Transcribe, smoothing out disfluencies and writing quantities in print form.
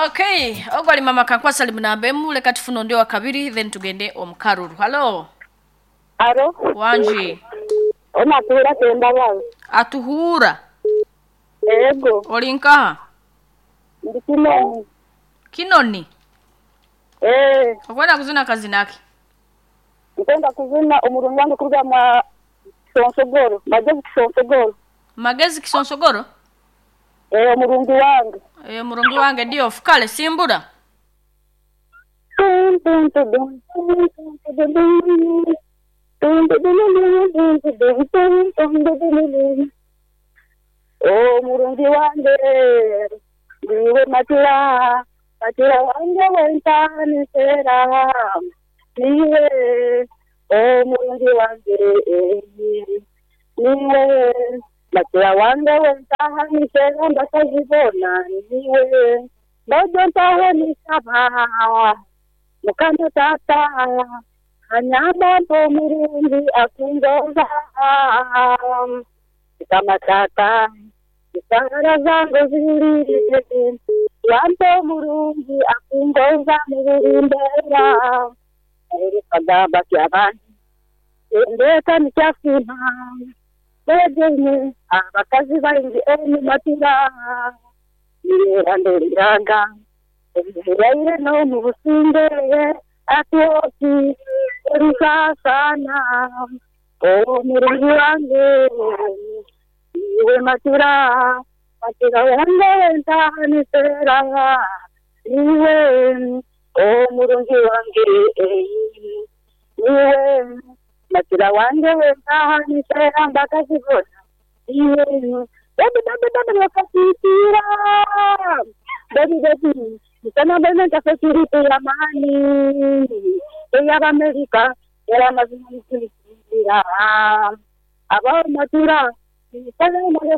Okay, ogwo ali mama Kankwasa ali munamba emu leka tufune ondi owakabiri then tugende omu karuru. Halo, Alo, wangi ona atuhura Kembabazi. Atuhura. Ego, Oli nkaha? Ndi Kinoni. Kinoni. Eh, Okwenda kuzina kazina ki? Nkwenda kuzina omurungi wange kuruga mwa Kisonsogoro, Magezi Kisonsogoro. Magezi Kisonsogoro? Eh, omurungi wange. Eh, murungi wange Diof. Kale simbura. Oh, murungi wange ndiwe matira matira wange wentanisera niwe oh murungi wange niwe matira wange wentanisera ndakazibona niwe mbojo ntawenisaba mukama tata anyamba mpo murungi akungoza kama tata isara zangu zilile wampe murungi akungoza muburimbera erikagamba kyabandi endeka nikyafuna begenye abakazi baingi enimatira niyeranderiraga ebiraire n'omu businge atwoki erisasana omurungi wange iwe matira matira wange wentanisera iwe omurungi wange iwe matira wange wentanisera mbakazibona iwe baby baby baby wakasitira baby baby msana bene ntasecurity ya mani ey'abamerika era amazima mukulikira abamatira misana mwe